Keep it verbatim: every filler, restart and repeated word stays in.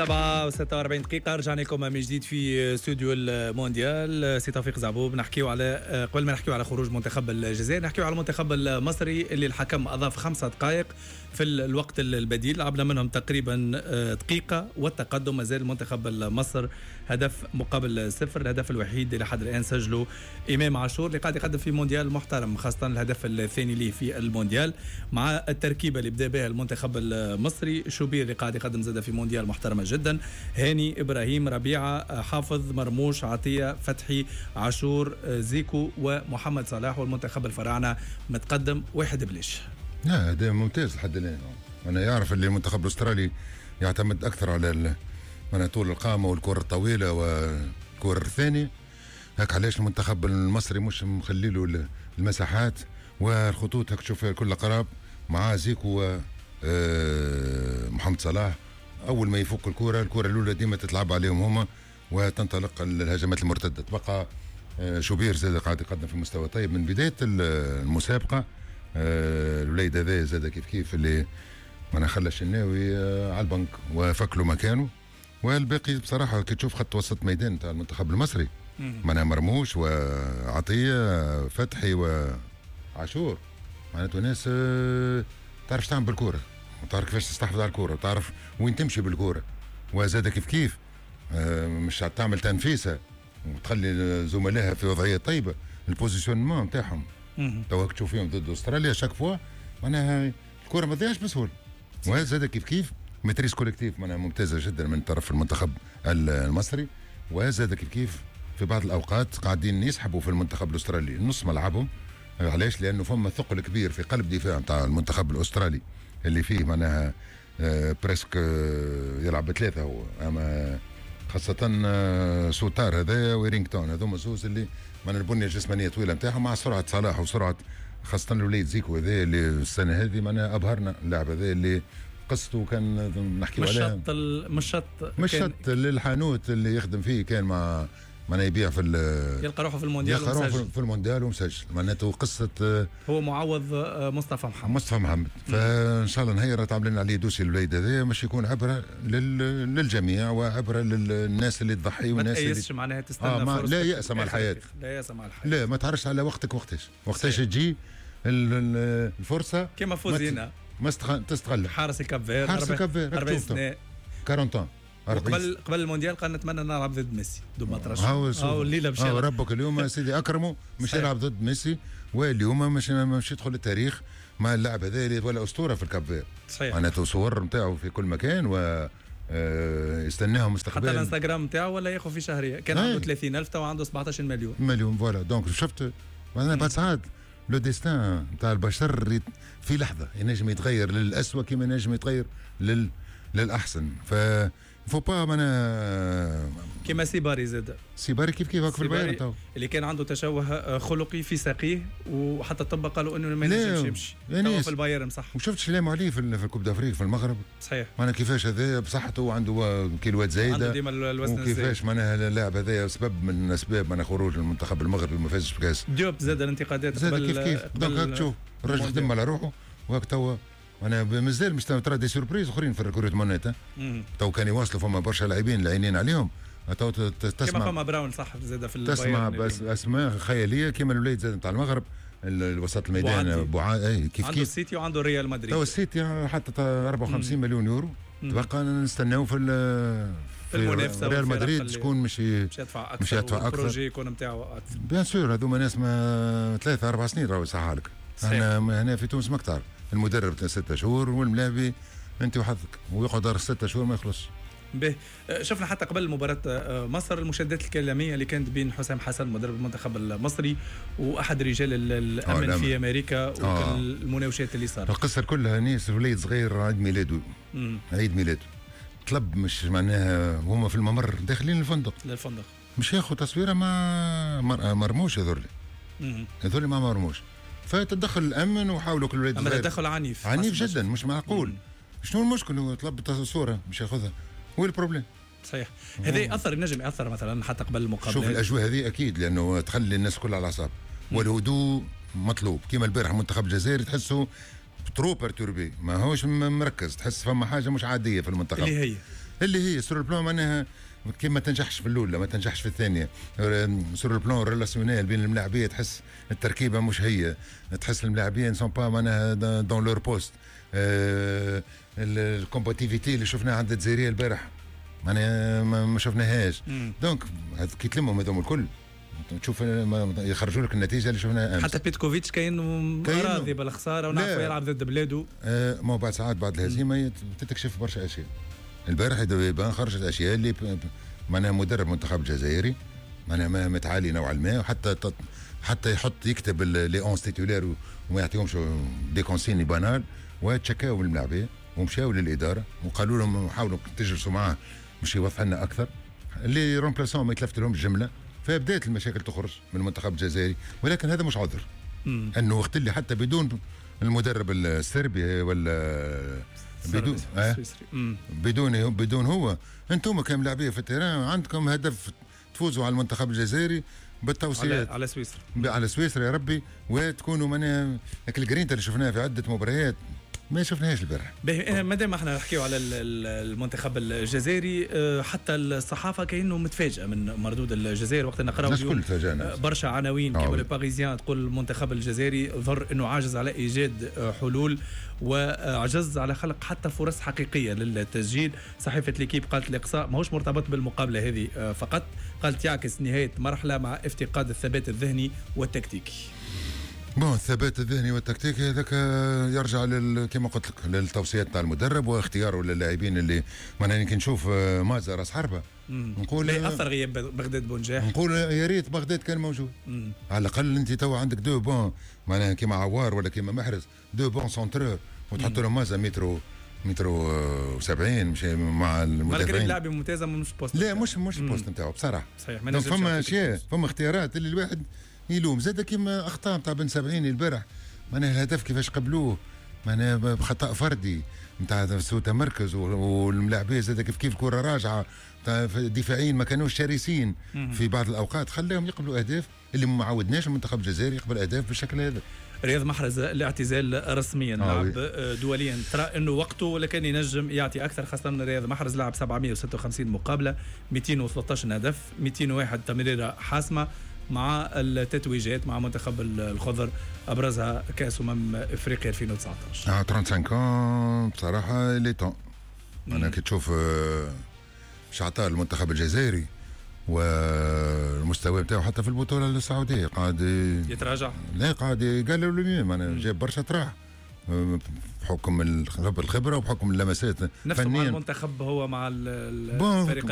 سبعة وستة وأربعين دقيقة، رجعنا لكم من جديد في استوديو المونديال. سي توفيق زعبوب، نحكيو على قبل ما نحكيو على خروج منتخب الجزائر نحكيو على المنتخب المصري اللي الحكم أضاف خمسة دقائق في الوقت البديل، لعبنا منهم تقريبا دقيقة والتقدم مازال المنتخب المصري هدف مقابل صفر. الهدف الوحيد اللي لحد الآن سجله إمام عاشور اللي قاعد يقدم في مونديال محترم، خاصة الهدف الثاني ليه في المونديال مع التركيبة اللي بدا بها المنتخب المصري. شوبير اللي قاعد يقدم زاد في مونديال محترمة جدا، هاني، إبراهيم، ربيعة، حافظ، مرموش، عطية، فتحي، عاشور، زيكو ومحمد صلاح. والمنتخب الفراعنة متقدم واحد بلاش. لا هذا ممتاز لحد الآن. أنا يعرف اللي المنتخب الأسترالي يعتمد أكثر على من طول القامة والكرة الطويلة والكرة الثانية، هاك علاش المنتخب المصري مش مخلي له المساحات والخطوط. هاك تشوف كل قراب مع زيكو ومحمد صلاح، اول ما يفك الكره الكره الاولى ديما تتلعب عليهم هما وتنطلق الهجمات المرتدة. تبقى شوبير زاد قاعد يقدم في مستوى طيب من بداية المسابقة. الوليد هذا زاد كيف كيف اللي انا خلى الشناوي على البنك وفك له مكانه. والباقي بصراحة كي تشوف خط وسط ميدان تاع المنتخب المصري معناها مرموش وعطية، فتحي وعاشور، معناته ناس تعرف تعمل بالكرة وتعرف كيفاش تستحفظ على الكره وتعرف وين تمشي بالكرة، وزاد كيف كيف مش تعمل تنفيسه وتخلي زملائها في وضعية طيبة. ال positionnement نتاعهم توا تشوف فيهم ضد استراليا chaque fois معناها الكره ما تضيعش بسهولة. وزاد كيف كيف maîtrise collective معناها ممتازة جدا من طرف المنتخب المصري. وزاد كيف كيف في بعض الاوقات قاعدين يسحبوا في المنتخب الاسترالي نص ملعبهم. علاش؟ لانه فما ثقل كبير في قلب دفاع نتاع المنتخب الاسترالي اللي فيه معناها presque يلعب بثلاثة هو، اما خاصة سوتار هذا ويرينغتون، هذوما زوز اللي معناها البنية الجسمانية طويلة نتاعهم مع سرعة صلاح وسرعة خاصة الوليد زيكو هذا اللي السنة هذه معناها ابهرنا اللاعب هذا اللي قصته كان نحكيو عليها. مشط مشط مشط للحانوت اللي يخدم فيه، كان مع معناها يبيع في يلقى روحه في المونديال، يلقى روحه في المونديال ومسجل. معناته قصة هو معوض مصطفى محمد مصطفى محمد. فان شاء الله نهيرة تعمل لنا عليه dossier الوليد هذا مش يكون عبره لل... للجميع وعبرة للناس اللي تضحي والناس اللي ما تأيسش معناها تستنى آه ما... لا يأس مع الحياة، لا يأس مع الحياة، لا ما تعرفش على وقتك وقتاش وقتاش تجي الفرصة. كما فوزينا ما تستغل حارس الكاب فير، حارس الكاب فير أربعين سنة أربعين قبل قبل المونديال قال نتمنى نلعب ضد ميسي دوب ما ترشح. هاو الليلة باش ربك اليوم سيدي اكرمه مش يلعب ضد ميسي، واليوم مش مش يدخل التاريخ مع اللاعب هذا اللي ولا اسطورة في الكاب فير. صحيح معناته صور نتاعو في كل مكان و يستناهم مستقبلا. حتى الانستغرام نتاعو ولا ياخذ في شهرية، كان عنده ثلاثين ألف تو عنده سبعطاش مليون مليون voilà. donc شفت معناها بعد ساعات le destin نتاع البشر في لحظة ينجم يتغير للأسوأ كما ينجم يتغير لل للاحسن. ف faut pas معناها كيما سيباري زاد سيباري كيف كيف في البايرن تو اللي كان عنده تشوه خلقي في ساقيه وحتى الطب قالوا انه ما ينجمش يمشي يعني في البايرن. صح، وشفت شلاموا عليه في في ال Coupe d'Afrique في المغرب. صحيح معناها كيفاش هذا بصحته وعنده كيلوات زايدة، عنده ديما الوزن الزايد، وكيفاش معناها اللاعب هذا سبب من اسباب معناها خروج المنتخب المغربي ما فازش بكاس. ديوب زاد الانتقادات قبل كيف كيف. donc تشوف الراجل خدم على روحه وهاك توا انا مازال مش ترى des surprises اخرين في ال recrutement. تو كان يواصلوا فما برشا لاعبين العينين عليهم تو تسمع كما فما براون صح زاد في البايرن، تسمع بس اسماء خيالية كما الوليد زاد نتاع المغرب الوسط الميدان بوعا اي كيف عنده كيف السيتي وعنده ريال مدريد. تو السيتي حتى أربعة وخمسين مليون يورو تبقى نستناو في في المنافسة ريال مدريد شكون مش مش يدفع اكثر، مش يدفع اكثر، ال projet يكون نتاعو اكثر. bien sûr هذوما ناس ما ثلاثة اربع سنين راهو يصحها لك. احنا هنا في تونس ماك تعرف المدرب ستة شهور والملاعبي انت وحظك ويقعد ستة شهور ما يخلصش. به شفنا حتى قبل مباراة مصر المشادات الكلامية اللي كانت بين حسام حسن مدرب المنتخب المصري وأحد رجال الأمن في أمريكا والمناوشات اللي صارت. القصة كلها ناس وليد صغير عيد ميلاده عيد ميلاده طلب مش معناها هما في الممر داخلين الفندق للفندق مش ياخذ تصويره مع مرموش هذول هذول مع مرموش، فتدخل الامن وحاولوا كل الولاد. اما تدخل عنيف عنيف جدا مش معقول. شنو المشكل؟ هو طلب صوره مش ياخذها، وين ال problème؟ صحيح هذا ياثر، ينجم ياثر مثلا حتى قبل المقابلة. شوف الاجواء هذه اكيد لانه تخلي الناس كلها على اعصاب والهدوء مطلوب. كيما البارح المنتخب الجزائري تحسه trop perturbé، ماهوش مركز، تحس فما حاجة مش عادية في المنتخب اللي هي اللي هي sur le plan معناها كي ما تنجحش في الاولى ما تنجحش في الثانيه، sur le plan relationnel بين الملاعبيه تحس التركيبة مش هي، تحس الملاعبيه sont pas معناها dans leur poste. ال combativité اللي شفناها عند الجزائرية البارح معناها ما شفناهاش. donc كي تلمهم هذوم الكل تشوف يخرجوا لك النتيجة اللي شفناها امس. حتى بيتكوفيتش كاين راضي بالخساره ونعرفه يلعب ضد بلاده. آه ما بعد ساعات بعد الهزيمة تتكشف برشا اشياء. البارح يبان خرجت اشياء اللي معناها مدرب منتخب الجزائري معناها متعالي نوعا ما، وحتى حتى يحط يكتب les onze titulaires وما يعطيهمش des consignes banales، وتشكاو من الملاعبيه ومشاو للادارة وقالوا لهم حاولوا تجلسوا معاه باش يوضح لنا اكثر. les remplaçants ما يتلفت لهمش جمله، فبدات المشاكل تخرج من المنتخب الجزائري، ولكن هذا مش عذر. مم. انه وقت اللي حتى بدون المدرب السربي ولا بدون آه بدون بدون هو، انتم كملاعبيه في ال terrain عندكم هدف تفوزوا على المنتخب الجزائري بالتوصيات على, على سويسرا، على سويسرا يا ربي، وتكونوا معناها الجرينتا اللي شفناها في عده مباريات ما شفناهاش البارح. باهي، مادام احنا نحكيو على المنتخب الجزائري، حتى الصحافة كانه متفاجئه من مردود الجزائر وقت نقراو اليوم برشا عناوين كيما Le Parisien تقول المنتخب الجزائري ظهر انه عاجز على ايجاد حلول وعجز على خلق حتى فرص حقيقية للتسجيل. صحيفة L'Équipe قالت الاقصاء ماهوش مرتبط بالمقابلة هذه فقط، قالت يعكس نهاية مرحلة مع افتقاد الثبات الذهني والتكتيكي. bon الثبات الذهني والتكتيكي هذاك يرجع لل كما قلت لك للتوصيات تاع المدرب واختياره للاعبين اللي معناها كي نشوف مازا راس حربه نقول اثر غياب بغداد بونجاح، نقول يا ريت بغداد كان موجود. مم. على الاقل انت تو عندك deux bons معناها كيما عوار ولا كيما محرز، deux bons centreurs، وتحط لهم مازا مترو مترو وسبعين مش مع المدافعين. لاعب ممتازة مش poste، لا مش مش ال poste نتاعو بصراحة. صحيح. فما اشياء، فما اختيارات اللي الواحد يلوم زاد كيما اخطاء نتاع بن سبعين البارح، معناها الهدف كيفاش قبلوه معناها بخطا فردي نتاع سوء تمركز، والملاعبيه زاد كيف كيف كره راجعه دفاعيين ما كانوش شرسين في بعض الاوقات خلاهم يقبلوا اهداف اللي ما عودناش المنتخب الجزائري يقبل اهداف بالشكل هذا. رياض محرز الاعتزال رسميا، لعب دوليا، ترى انه وقته ولكن ينجم يعطي اكثر، خاصة رياض محرز لعب سبعمية وستة وخمسين مقابله، مئتين وثلاثة عشر هدف، مئتين وواحد تمريره حاسمة مع التتويجات مع منتخب الخضر، ابرزها كاس امم افريقيا ألفين وتسعطاش. اه خمسة وثلاثين بصراحة il est temps. انا كي تشوف شعطاء المنتخب الجزائري والمستوى نتاعو حتى في البطولة السعودية قاعد يتراجع، لا قاعد قالوا له معناها جاب برشا طراح بحكم الخبرة وبحكم اللمسات نفسه مع المنتخب هو مع الفريق.